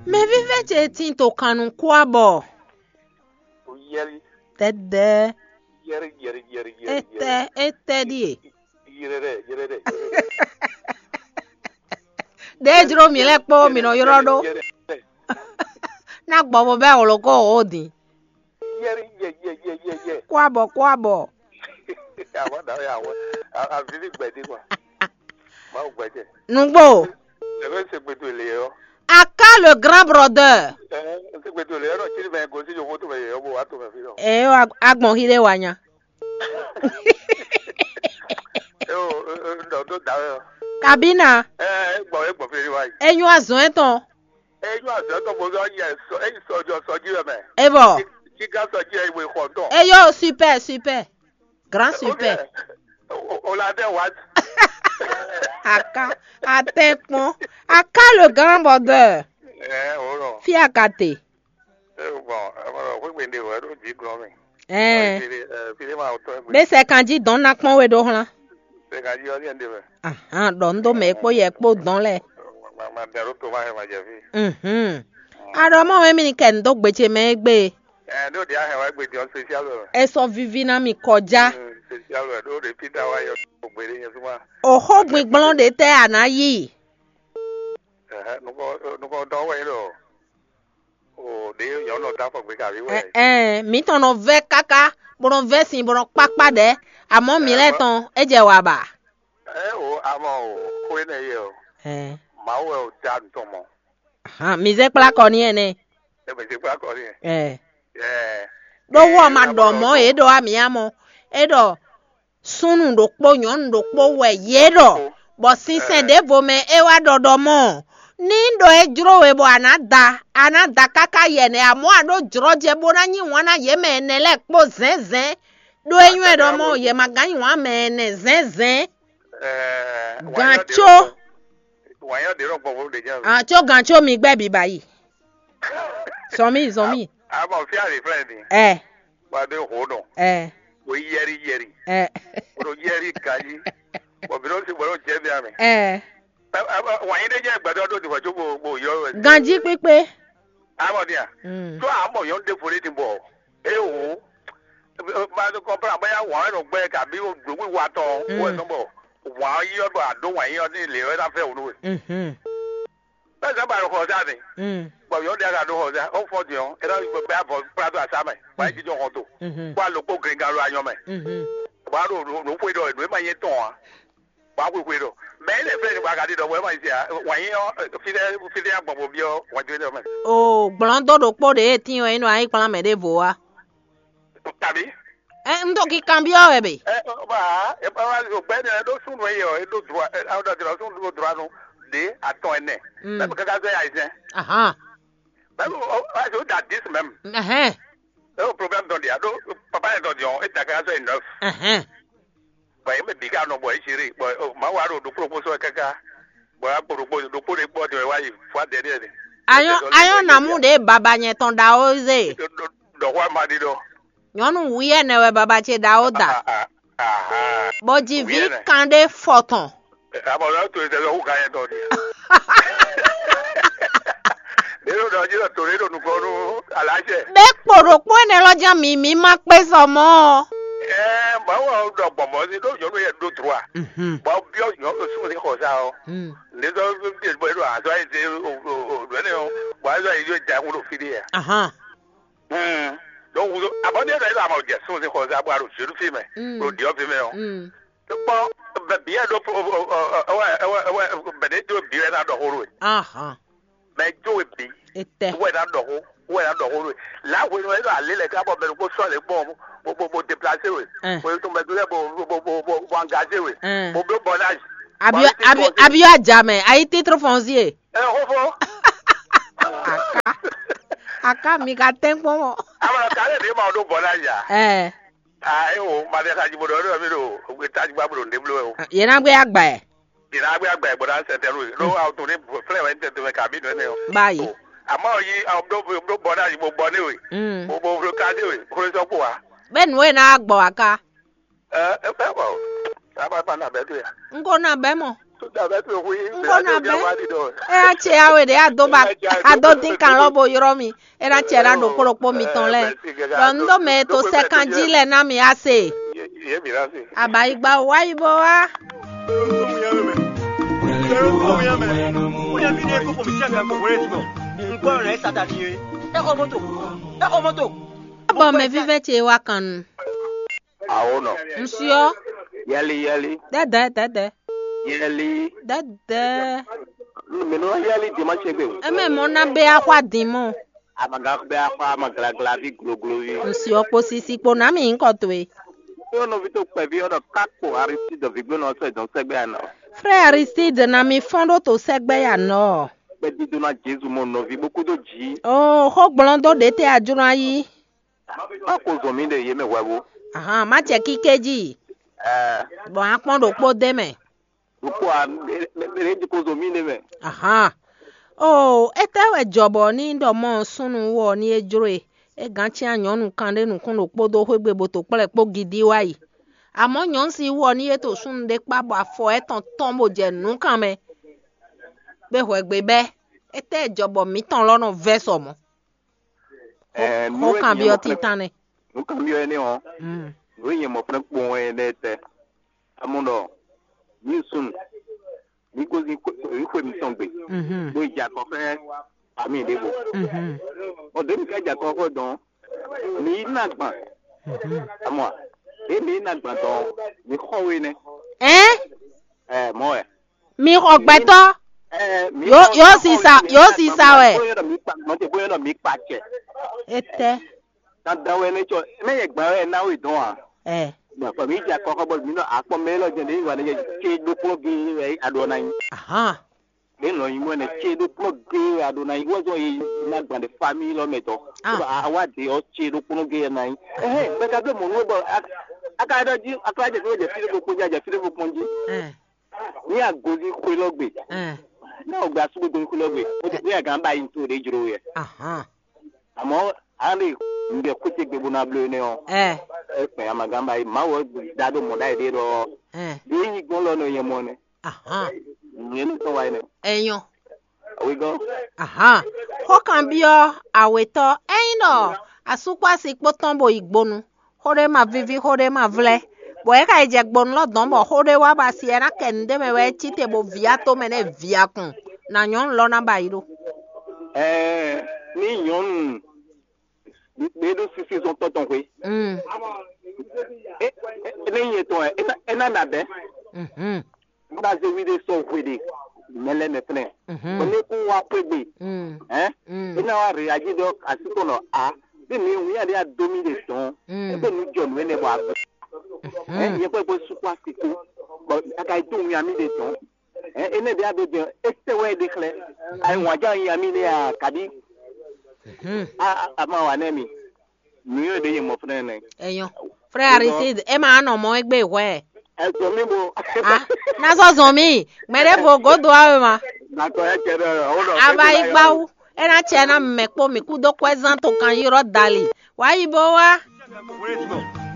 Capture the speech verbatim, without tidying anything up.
Mɛvívɛ́ ce tin to kannukúabɔ. Yɛri, tɛdɛ yɛri, yɛri, yɛri, yɛri, yɛri. Etɛ etɛ ɖie. Yɛrɛ dɛ, yɛrɛ dɛ, yɛrɛ dɛ. Ɖe jló mi lɛ kpó mi nɔ yrɔ ɖó. Yɛrɛ dɛ. Na gbɔ bo bɛ wolo ko o din. Yɛri, yɛ, yɛ, yɛ, yɛ, yɛ. Kwabɔ kwabɔ. Àwọn dàá yà wọ́n. Àfi ní gbẹ̀dí kɔ. Máa gbẹ̀jẹ̀. Nugbo. Ẹ̀fẹ́ ṣe gbèdò lè yọ. Aka le grand brother. Ẹ ṣe gbèdò lè yọ náà tí bẹ́ẹ̀ gòsì yòówó tó bẹ̀ yẹ bó wà tó bẹ̀ fi lọ. Ẹ yọ agbọ̀n hí lé wa nya. Ẹ o, ẹ o, ẹ o, tó dà ẹ. Kabina. Ẹ ẹ gbọ̀ ẹ gbọ̀ fi lè wá yìí. Enyo azɔn etɔn. Ẹ yọ azɔn tó bó yọ yẹ sọ ẹ sọ jọ sọ jí wẹ mẹ. Evɔ. Kíkà sọ jí ẹ ìwé xɔ tán. Eyɔ super super. Grand super. O la dɛ wa. Aka atɛ kpɔn. Aka le grand brother. Ɛ o lɔ. Fi aka te. Ɛ bɔn ɛ bɔn xwé gbende wɛ ɖo jí glɔn mi. Ɛɛ. Fili ɛ fili ma o tɔ ɛ gbé. Bɛ sɛ kan jí dɔn na kpɔn we ɖo hlan. Sɛ kan jí ɔlí ɛn de mɛ. Ahan, ɖɔ n ɖo mɛ kpó yɛ kpó dɔn lɛ. Ma ma dɛ ɖo to ma hɛ ma jɛ fi. Mhm. Aɖɔ mɔ wɛ mi ni kɛ n ɖó gbe ce mɛ égbé. Ɛ ɖo ɖi ahɛn wa gbe diɔ spécial wɛ. Esɔ vivi na mi kɔjá. Spécial wɛ ɖo ɖe Peter wa yɔ gbe ɖe nyɛ suma. Oxó gbigblɔn ɖe tɛ a na yi. Ɛhɛ nukɔ nukɔ dɔ wɛ yi lɔ. O ɖe nyɔ nɔ da fɔ gbe kavi wɛ. Ɛɛ mi tɔn nɔ vɛ kaka bó nɔ vɛ sin bó nɔ kpakpa ɖɛ. Amɔ mi lɛ tɔn e jɛ wa ba. Ɛ o amɔ o xó énɛ́ yɛ o. Ɛɛ. Mawu wɛ o da nutɔn mɔ. Hàn mi zɛ kplá kɔ ní ɛnɛ. Ɛ bɛ zɛ kplá kɔ ní ɛ. Ɛɛ. Ɛɛ. Ɖó wɔ ma ɖɔ mɔ yě ɖɔ amì amɔ. É ɖɔ súnnu ɖokpó nyɔ̌nu ɖokpó wɛ yě ɖɔ. Bɔ sinsɛn ɖěvo mɛ é wá ɖɔ ɖɔ mɔ. Ní ɖɔ é jló we bɔ a nǎ da, a nǎ da káká yɛ nɛ́ amɔ̌ a ɖó jlɔ́jɛ bó ná nyí wǎn ná yě mɛ ɛnɛ lɛ́ɛ kpó zɛ̌nzɛ̌n. Ɖó é nywɛ́ ɖɔ mɔ yě ma gán nyi wǎn mɛ ɛnɛ zɛ̌nzɛ̌n. Ɛɛ, Gǎn wǎnyɔ ɖě có. Lɔ gbɔn, wǎnyɔ ɖě lɔ gbɔn vo ɖě jɛ. Ah, có gǎn có mi gbɛ biba yi. Zɔn mi, zɔn mi. Abɔ fia le flɛ ni. Ɛ, Wa de ho nɔ. Ɛ, Wo yɛri yɛri. Ɛ, Wo yɛri gayi. Bɔ bi lɔ si bɔ lɔ jɛ bi amɛ. Ɛ, Wǎnyí ɖé jẹ́ gbɛdɔ ɖó dìbò tó bo bo yɔ wɛ. Ganjí kpíkpé. Amɔ dia. Mm. Tó amɔ yɔn ɖe fo ɖe ti bɔ. E wo. Ba do kɔmpla bóyá wǎn nɔ gbɛ kabi o gbogbo wa tɔn. Mm. Wo ɛsɔn bɔ wǎn yɔ bɔ a ɖó wǎn yɔ ní lě wɛ ná fẹ́ wò nú we. Mhm. Bẹ́ẹ̀ sẹ́ ba ɖo xɔ sá ni. Mm. Bɔ yɔ ɖe ka ɖo xɔ sá, ó fɔ diɔ, é ná gbé abɔ kpla dó asá mɛ, bɔ é jijɔ xɔ to. Mhm. Bɔ a lǒ kpó gringan ɖo anyɔ mɛ. Mhm. Bɔ a ɖo nǔ xwe ɖɔ nǔ e ma nyɛ tɔn ǎ. Bɔ a xwe xwe ɖɔ. Mɛ é lɛ flɛ́ ni bɔ a ka ɖi ɖɔ bɔ é ma nyɛ sia, wǎn nyɛ ɔ, fínɛ́ fínɛ́ agbɔn bo byɔ́ wǎn jó énɛ́ mɛ. O gblɔ̌n dó ɖokpó ɖě e tín ɔ́, é nɔ ayí kplán mɛ ɖěvo wá. Tàbí? Ɛ, un ɖo kikanbyɔ́ wɛ be? Ɛ, ba, ɛ, ba, ba, gbɛ ne ɖo súnnu eye ɔ, eɖo droit, ɛ, awo ɖo droit, súnnu ɖo droit nu ɖe atɔn ɛnɛ. Mm. Mɛ káká zɛ ayizɛn. Ahan. Mɛ o, o, o da dix même. Ɛhɛn. E o problème dɔn dia, ɖo papa yɛ dɔn diɔ, e da káká zɛ neuf. Ɛhɛn. Bɔ ye mɛ bi ka nɔ bɔ e géré, bɔ o ma wa ɖo ɖokpó ɖokpó sɔ káká. Bɔ a kpo ɖokpó ɖokpó ɖe kpɔ diɔ wa yi fua dɛ ɖe. Ayɔn ayɔn namu ɖe baba nyɛ tɔn ɖawo zé. Ɖɔ xɔ ma ɖi ɖɔ. Nyɔnu wuyɛnɛ wɛ baba ce ɖawo da. Aha. Bɔ dzi vi kan ɖé fɔtɔn. Abɔ lɔ to ɛsɛ lɔ hu kan yɛ tɔ di. Ɖe ɖo ɖɔ dzi lɔ to ɖe ɖo nukɔ nu aláṣẹ. Bɛ kpo ɖokpó ɛnɛ lɔ jɛ mi mi ma kpé sɔ mɔ. Ɛ bawo ɖɔ gbɔmɔ si ɖo nyɔnu yɛ ɖo droit. Mhm. Bɔ biɔ nyɔnu sún ní xɔ sa ɔ. Mm. Ne sɔ bɔ e ɖo azɔ yi se o o o ɖɔ ne o bɔ azɔ yi yɔ ja ŋu ɖo fi ɖe ya. Ahan. Donc, abɔde ɖɔ yɛ ama jɛ sún sí xɔ zá bɔ a ɖo zéɖu fi mɛ, Mm. Ɖo diɔ fi mɛ ɔ. Mm. Kpɔ bɛ bi yɛ ɖo ɛwɛ ɛwɛ ɛwɛ bɛ ɖe do bi yɛ na ɖɔ xó ɖo. Ahan. Mɛ jo we bi. Etɛ. Wɛ na ɖɔ xó, wɛ na ɖɔ xó ɖo. La hwenu yɛ ɖo ale lɛ ká bɔ mɛ ɖokpó sɔ le gbɔn bo bo bo déplacé we. Ɛn. Bo to mɛ do lɛ bo bo bo bo bo engagé we. Ɛn. Bo bo bɔnage. Abio abio abio ajamɛ ayi titre foncier. Ɛ xófó. Aka aka mi ka tɛn kpɔn mɔ. Amɔ k'ale ɖe ma ɖo bɔ na ya. Ɛ. Aa e wo ma ɖe xadzi bo ɖɔ ɖɔ mi ɖo ogbe tajigba bo ɖo nɖe blo o. Yena gbe agba ɛ. Yena gbe agba ɛ bo na sɛ tɛnu e. Ɖo awo to ne flɛ wɛ tɛ tɛmɛ kabi nɔ ne o. Ba yi. Amɔ yi awo ɖo ɖo bɔ na yi bo bɔ ne we. Mm. Bo bo ɖo kaze we xlosɔ kpo wa. Bɛ nu e na gbɔ aka. Ɛ ɛ bɔ. Aba ba na bɛ do ya. N ko na bɛ mɔ. N ko ná bɛ́. É ná ce awe ɖě a dó ba a dó dín kan lɔ bo ylɔ́ mi. É ná ce ná ɖo kplɔ́kpó mitɔn lɛ́ɛ. Ɖɔ un ɖó mɛ e to sɛ́ kan jí lɛ́ɛ ná mi á se. Abayigba wá yi bó wá. Bɔ mɛ vívɛ́ ce wá kan nu. Awo nɔ. Un syɔ. Yɛli yɛli. Dɛdɛ dɛdɛ. Yɛli. Dɛdɛ. Mi nɔ yɛli dimanche gbe. Eme mɔ na bɛ axwa din mɔ. Amaga bɛ axwa amaglagla vi gloglo vi. Un syɔ kpo sisi kpo na mi ŋkɔ towe. Yɔ nɔvi to kpɛvi ɔ́ ɖɔ kakpo Aristide vigbónɔ sɔ dɔn sɛgbɛ anɔ. Frère Aristide na mi fɔn ɖo to sɛgbɛ ya nɔ. Kpɛdídó na Jezu mɔ nɔvi bó kúdó jǐ. Oo, xó gblɔn dó ɖě tɛ ajlɔ́n ayi. Má ko zɔn mì ɖe yě mɛ hwɛ̌vú. Ahan, má jɛ kíké jí. Ɛɛ. Bɔ a kpɔn ɖokpó d'é mɛ. Ɖokpó a, ɖě ko zɔn mì ɖe mɛ. Ahan. Oo, étɛ́ wɛ jɔ bɔ ní ɖɔ mɔ súnnu wú ɔ ní é jló e? É gǎn cyán nyɔ̌nu kan ɖé nukún ɖokpó dó xwé gbe bó to kplɔ́ ɛ kpó gidi wá yi. Amɔ̌ nyɔ̌nu si wú ɔ ní é to súnnu ɖé kpá bɔ afɔ ɛ́tɔn tɔ́n bó jɛ nǔkan mɛ. Bó hwɛ gbe bɛ́. Étɛ́ jɔ bɔ mǐtɔn lɔ nɔ vɛ́ sɔ mɔ̌? Ɛɛ, nú Xó é kanbyɔ́ nyɛ mɔ fɛ́n-, tíntán nɛ́. Nú kanbyɔ́ énɛ́ ɔ́, Mm. nǔ e nyɛ mɔ fɛ́n kpowun wɛ énɛ́ tɛ́. Amɔ ɖɔ, mǐ sun, mǐ gozín xwe, xwe mǐtɔn gbe, Mhm. bó yi jɛ akɔ xá ami ɖěvo. Mhm. Ɔ, ɖě mi ka jɛ akɔ xɔ dɔn, mǐ yi ná gban. Mhm. Amɔ, ɖě mǐ yi ná gban dɔn, mǐ xɔ we nɛ́. Ɛn? Ɛ, mɔ wɛ. Mi xɔ gbɛtɔ́. Ɛ, mǐ Yo, xɔ yo xɔ sisa, we yo nɛ́ sisa gban wɛ. Bó yɔ́ ɖɔ mǐ kpa, mɔ tɛ bó yɔ́ ɖɔ mǐ kpa cɛ. Etɛ. Dandan wɛ nɛ tsɔ, mɛ yɛ gban wɛ ná we dɔn a. Ɛ. Bon, kɔ mi dza kɔkɔ bɔ mi nɔ akpɔ mɛ lɔ jɛ ne wa ne ce ɖokplɔ ge wɛ aɖo na nyi. Ahan. Ne nɔ nyi mɔ ne ce ɖokplɔ ge wɛ aɖo na nyi. Wɔ zɔ ye na gban de famille lɔ mɛ tɔ. Ah. Ba awa de ɔ ce ɖokplɔ ge na nyi. Ɛhɛ, bɛ ka bɛ mɔ nu bɔ a ka dɔ ji a ka jɛ fi jɛ fi ɖokplɔ ji a jɛ fi ɖokplɔ ji. Ɛ. Ní agozi xwe lɔ gbe. Ɛ. Ní o gba sugu gozi xwe lɔ gbe. O ti ní a gan ba yi to de jro yɛ. Ahan. Àmọ́, a lè ŋgbɛ kúté gbe bó ná bló énɛ́ ɔ́, Ɛ, é kpɛn amagánba yi. Mawu ɔ́ da ɖó mɔ̌ ɖ'ayǐ ɖé ɖɔ, ɛ, ɖé nyí gbɔn lɔ nɔ nyɛ mɔ nɛ. Ahan. Nyɛ ní tɔn wa yi nɛ. Ɛnyɔ. Awi gɔ́. Ahan. Xó kanbyɔ́ awětɔ́, ényí ɖɔ asúkpási kpó tɔn bo yi gbonu, xó ɖé ma víví, xó ɖé ma vlɛ́, bɔ é ka yi jɛ gbonu lɔ dɔn bɔ xó ɖé wá ba si ɛ ná kɛ nǔɖé mɛ wɛ é cí te bo vǐ atomɛ nɛ́ vǐ akun, nǎ nyɔ́nu lɔ ná ba yi ɖó. Ɛɛ, ní nyɔ̌nu ɖé ɖó sísí zɔn tɔ́ tɔn xwé. Mm. É, é, é, ní nyɛ tɔn ɛ, é ná, é ná nà bɛ́. Mhm. Bá zé wí ɖé sɔ́ hwe ɖe mɛ lɛ́ɛ mɛ fɛnɛ. Mhm. Bɔ ní kún wá xwé gbe. Mm. Hɛn? Mm. É ná wá réagir ɖɔ así tɔn nɔ a. Bí mi wíyá ɖé adó mì ɖe dɔn. Mm. É bɛ nu jɔ nǔ énɛ́ bɔ a bɛ. Mhm. Hɛn? Nyɛ kpɛ́ kpɛ́ sukú así kú. Bɔ a ka yi dó wíyá mì ɖe dɔn. Hɛn? Énɛ́ ɖé adó jɛ é sɛ wɛ ɖe xlɛ́. Ayi wǎn já wíyá mì ɖe a kàbí. Mhm. A, a, a ma wà nɛ mi. Nǔnywɛ́ ɖě nyɛ mɔ fúnɛ́ nɛ́. Ɛnyɔ. Frère Aristide, é ma nɔ mɔ égbé hwɛ. Ɛ zɔn mì bo. Ah, na sɔ zɔn mì. Mɛ ɖé vo godo awe ma. Nakɔ ɛ cɛ ɖɔ ɔ ɖɔ. Ava yi gbawu. É ná cɛ ná mɛ kpó mì kú dó kwɛ́ zán to kan ylɔ́ dali. Wá yi bó wá.